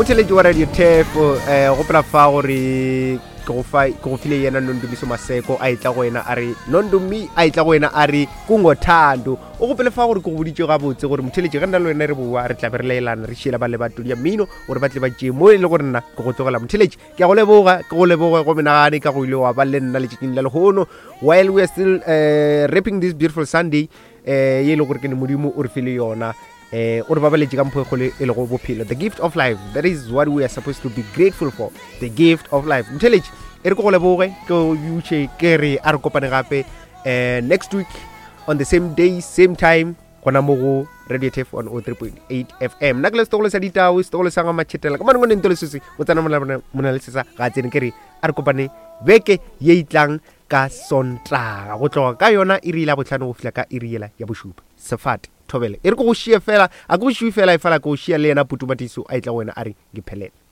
Motheletši wa Radio Turf, eh, gopola fa gore ke go fa ke go file yena Nondumiso Maseko a etla go wena a re Nondumi a etla go wena a re kungothando. O gopole fa gore ke go boditše gabotse gore motheletši ge nna le wena re boa re tla be re laelana re šiela ba le batodi ya mmino gore ba tle ba tšee mo e le gore nna ke go tlogela motheletši. Ke a go leboga, ke go leboge go menagane ka go ile wa ba le nna letšatšing la lehono while we are still rapping this beautiful Sunday eh ye e le gore ke ne modimo o re file yona eh o re babaletše ka mpho e kgolo e lego bophelo, the gift of life. That is what we are supposed to be grateful for, the gift of life. Motheletši e re ke go leboge, ke o butše, ke re a re kopane gape eh next week on the same day, same time, gona mo go Radio Turf 103.8 FM. Nna ke le setogolo sa ditao, setogolo sa ga matšhetela ka manongwane ntole sese o tsena mona le sesa ga tsene. Ke re a re kopane beke ye itlang ka Sontaga go tloga ka yona iri la bohlano go fihla ka iri yela ya bošupa. Sefate thobele e re ke go šie fela, a ke go šiwe fela, e fela ke go šia le yena Putu Matiso a etla go wena a re ngiphelele.